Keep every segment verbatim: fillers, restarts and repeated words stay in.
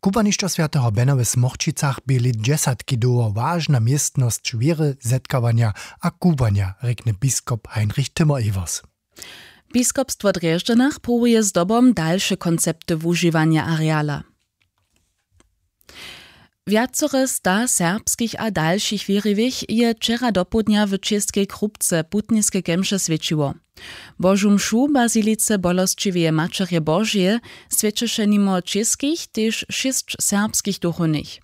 Kubłanišćo swjateho bena w smorćicach bě lět dźesatki dołho wažna městnosć wěry, zetkawanja a kubłanja, rjekny biskop Heinrich Timmer-Ewers. Biskopstwo w Drježdźanach próbuje zdobom dalše koncepty wužiwanja areala. Wjacore sta serbskich a dalšich wěriwych je wčera dopołdnja w čěskej krupce putniske kemše swjećiło. Božu mšu w bazilice bolosćiweje maćerje Božeje swjećeše nimo čěskich tež šěsć serbskich duchownych.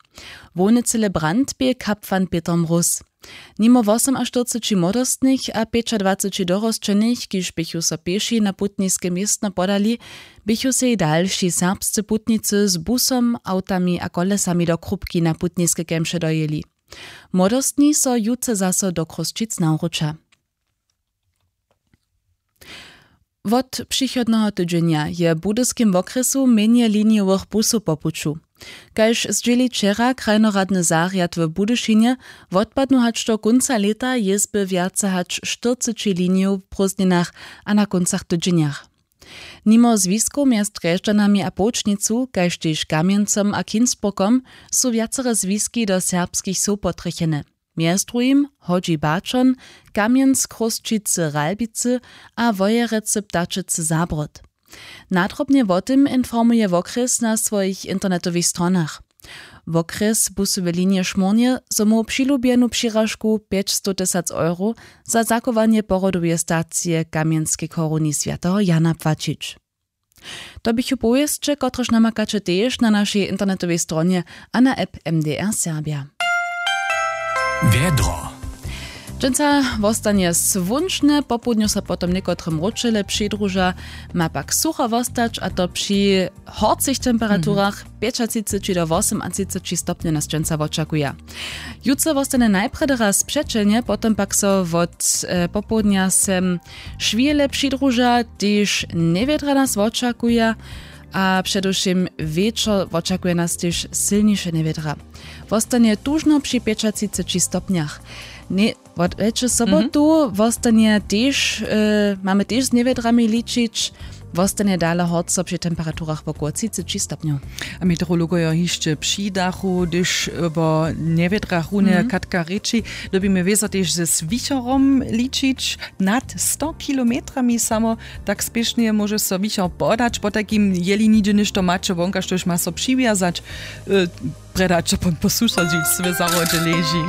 Hłowny celebrant bě kapłan Pětr Mróz. Nimo wosomaštyrceći młodostnych a pjećadwaceći dorosćenych, kiž běchu so pěši na putniske městno podali, běchu sej dalši serbscy putnicy z busom, awtami a kolesami do krupki na putniske kemše dojěli. Młodostni so jutře zaso do Chrósćic nawróća. Wot přichodneho tydźenja je w budyskim wokrjesu mjenje linijowych busow po puću. Kaž zdźěli wčera krajnoradny zarjad w Budyšinje, wotpadnu hač do kónca lěta jězby wjace hač štyrceći linijow w prózdninach a na kóncach tydźenjach. Nimo zwiskow mjez Drježdźanami a Połčnicu, kaž tež Kamjencom a Kinsburgom, su wjacore zwiski do serbskich wsow potrjechene. Mjez druhim Hodźi Baćon, Kamjenc, Chrósćicy, Ralbicy a Wojerecy, Ptačecy, Zabród. Nadrobnje wo tym informuje wokrjes na swojich internetowych stronach. Wokrjes busowe linije šmórnje, zo móhł přilubjenu přiražku pjećstow tysac euro za zachowanje porodoweje stacije w Kamjenskej choruni swjateho Jana płaćić. To běchu powěsće, kotrež namakaće tež na našej internetowej stronje a na app M D R Serbja. Wjedro. Dźensa wostanje słónčne, popołdnju so potom někotre mróčele přidruža, ma pak sucho wostać, a to při horcych temperaturach pjećatřiceći do wosomatřiceći stopnjow nas dźensa wočakuja. Jutře wostanje najprjedy raz přećelnje, potom pak so wot e, popołdnja sem šwile přidruža, tež njewjedra nas wočakuja, a předewšěm wječor wočakuje nas tež sylniše njewjedra. Wostanje tužno při pjećatřiceći stopnjach. Ně, wot wječe sobotu wostanje tež e, mamy tež z njewjedrami ličić. Wostanje dale horco při temperaturach wokoło třiceći stopnjow. A meteorologojo hišće přidachu, hdyž wo njewjedrach runje katka rěči, dyrbimy wězo tež ze swichorom ličić. Nad sto kilometrami samo tak spěšnje móže so wichor podać, potajkim jeli nihdźe něšto maće wonka, štož ma so přiwjazać, e, predaće pon po sušadźić swe zahrodźe leži.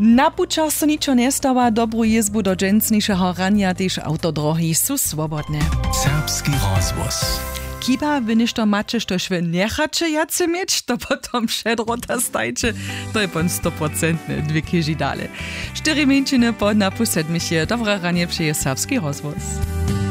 Na pućach so ničo njestawa, dobru jězbu do dźensnišeho ranja, tež awtodrohi su swobodne. Serbski rozhłos. Chiba wy něšto maće, štož wy njechaće wjace měć, to potom předrota stajće. To je pon stoprocentne dwě chěži dale. Štyri mjeńšiny po napu sedmich je. Dobre ranje přeje Serbski rozhłos.